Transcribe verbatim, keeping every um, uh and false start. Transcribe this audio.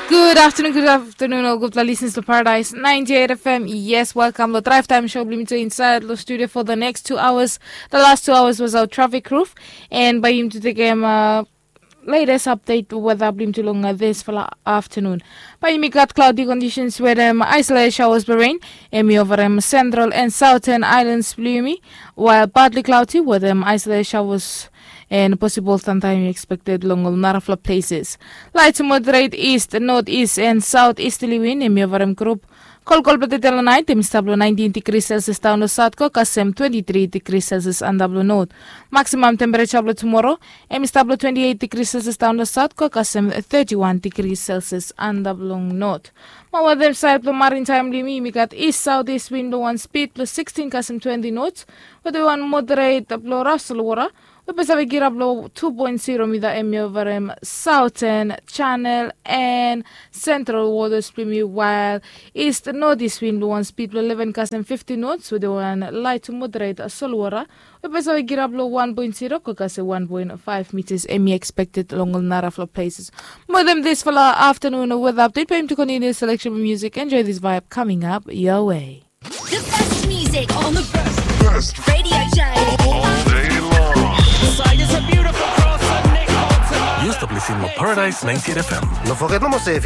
Good afternoon, good afternoon, ol gudfala listeners lo Paradise ninety-eight F M. Yes, welcome lo Drive Time Show blo yumi tu insaed lo studio for the next two hours. The last two hours was our traffic roof. And bae yumi tu tekem uh, latest update weather blo yumi tu long uh, this fala afternoon. Bae yumi gat cloudy conditions wetem isolated showers blo rain. Hemi overem central and southern islands blo yumi. While partly cloudy wetem isolated showers and possible sunshine expected long ol narafala places. Light to moderate east, northeast and southeasterly wind hemi overem group. Kolkol blo tede lo naet hemi stap lo nineteen degrees Celsius daon lo south go kasem twenty-three degrees Celsius antap lo north. Maximum temperature blo tomorrow hemi stap lo twenty-eight degrees Celsius daon lo south go kasem thirty-one degrees Celsius antap long north. Mo wetem saed blo maritime blo yumi, yumi gat east southeast wind blo wan speed blo sixteen kasem twenty knots. Wetem wan moderate blo raf solwota we bae save kirap lo two point zero mita hemi overem southern channel and central waters blo yumi, while east northeast wind blo wan speed blo eleven kasem fifty knots wetem wan light to moderate solwota we bae save kirap lo one point zero go kasem one point five meters hemi expected long ol narafala places. Mo wetem this fala afternoon weather update bae yumi tu continue selection music. Enjoy this vibe coming up your way. The best music on the best radio show all day long. Yu stap listening lo Paradise ninety-eight F M. No foget nomo se